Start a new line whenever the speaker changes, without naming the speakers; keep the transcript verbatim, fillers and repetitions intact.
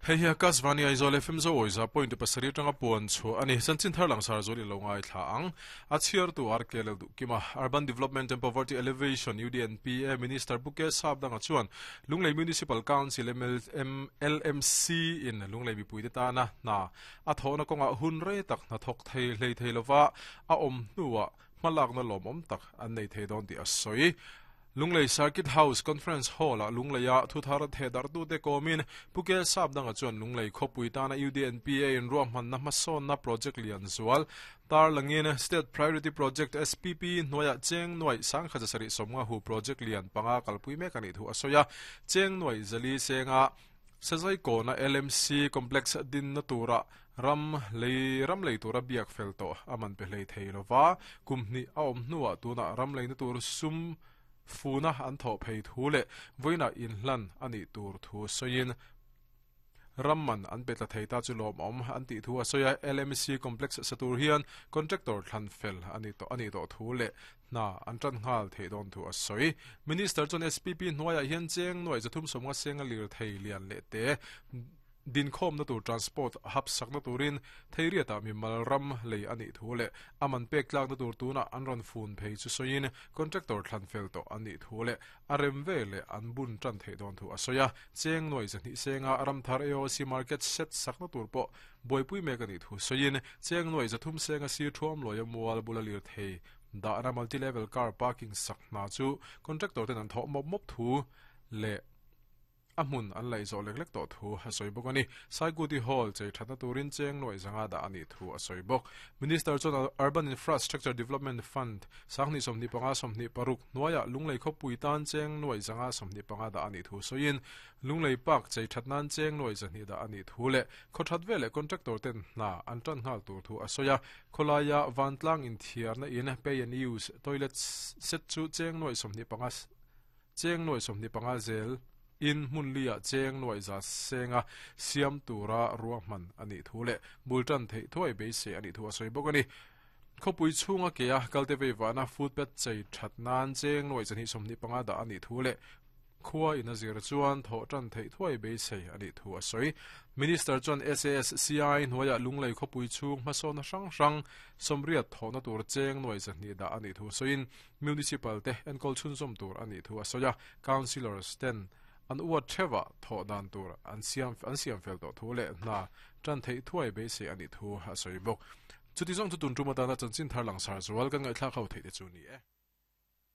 Hei hi Akashvani Aizawl F M zo awiza point pasarih atanga puan chu ani. Chanchin thar langsar zual i lo ngai thla ang. A chhiar tu R K L Duhkima. Urban Development and Poverty Elevation U D N P A Minister Buke Sapdanga chuan Lunglei Municipal Council M L M L M C in Lunglei mipui te tana hna a thawhna kawnga hun rei tak hna thawk thei hlei thei lova a awm hnuah hmalakna lawmawm tak an nei thei dawn tih a sawi. Lunglei Circuit House Conference Hall a Lungleia thuthar thedar tu te komin Puke Sapdanga chuan Lunglei khawpui tana U D N P A in ruahmanna hmasawnna project lian zual tar langin State Priority Project S P P hnuaiah cheng nuai sangkhat sarih sawmnga hu project lian panga kalpui mek ani thu a sawi a. Cheng nuai zali senga Sazai kona L M C complex din na tura ram lei ram lei tura biak fel to aman pe hlei thei lova kumni a awm hnuah tuna ram lei na tur sum funa an tho phei thu le voina in hlan ani tur thu soin ramman an petla theita chu lom om an ti thu a soya L M C complex satur hian contractor thlan fel ani to ani to thu le na an tran ngal thei don thu a soi. Minister chon S P P hnuaiah hian cheng nuai zathum somnga senga lir thei lian le te din khom na tur transport hap sak na turin theiriata mi malram lei ani thu le aman pek tlak na tur tuna an ron fun phei chu soin contractor thlan fel to ani thu le arem ve le an bun tran thei don thu asoya cheng noi zani senga ram thar A O C market set sak na tur po boipui mek ani thu soin cheng noi zathum senga si thuam loya mual bulalir thei da na multi level car parking sak na chu contractor ten an tho mop mop thu le amun an lei zo lek lek to thu a soi bawk ani. Saikuti Hall chei thatna turin cheng noi zanga da ani thu a soi bawk. Minister chuan Urban Infrastructure Development Fund sangni sawmhnih panga sawmhnih paruk hnuaiah Lunglei khawpui tan cheng noi zanga sawmhnih panga da ani thu sawiin Lunglei Park chei thatnan cheng noi zahnih da ani thu le khawthat vele contractor ten hna an tan nghal tur thu a sawi a. Khawlaia vantlang inthiarna in pay and use toilet set chu cheng noi sawmhnih panga cheng noi sawmhnih panga zel in hmunlia cheng noi za senga siam tura ruahman ani thu le bultan thei thuai be se ani thu a soi bawk ani. Khawpui chhunga ke a kalte vei vana footpath chei that nan cheng noi chani sawmhnih panga da ani thu le khua in a zir chuan tho tan thei thuai be se ani thu a soi. Minister chuan S A S C I hnuaiah Lunglei khawpui chhung hmasawnna hrang hrang sawmriat thawhna tur cheng noi zahnih da ani thu sawiin municipal te enkawl chhunzawm tur ani thu a sawi a. Councillors ten an uat thewa tho dan tur an siam an siam fel to thu le na tran thei thuai be se ani thu a soi bawk. Chuti zawng chu tun tuma tana chanchin thar langsar zual kan ngai thla khau thei te chu ni e.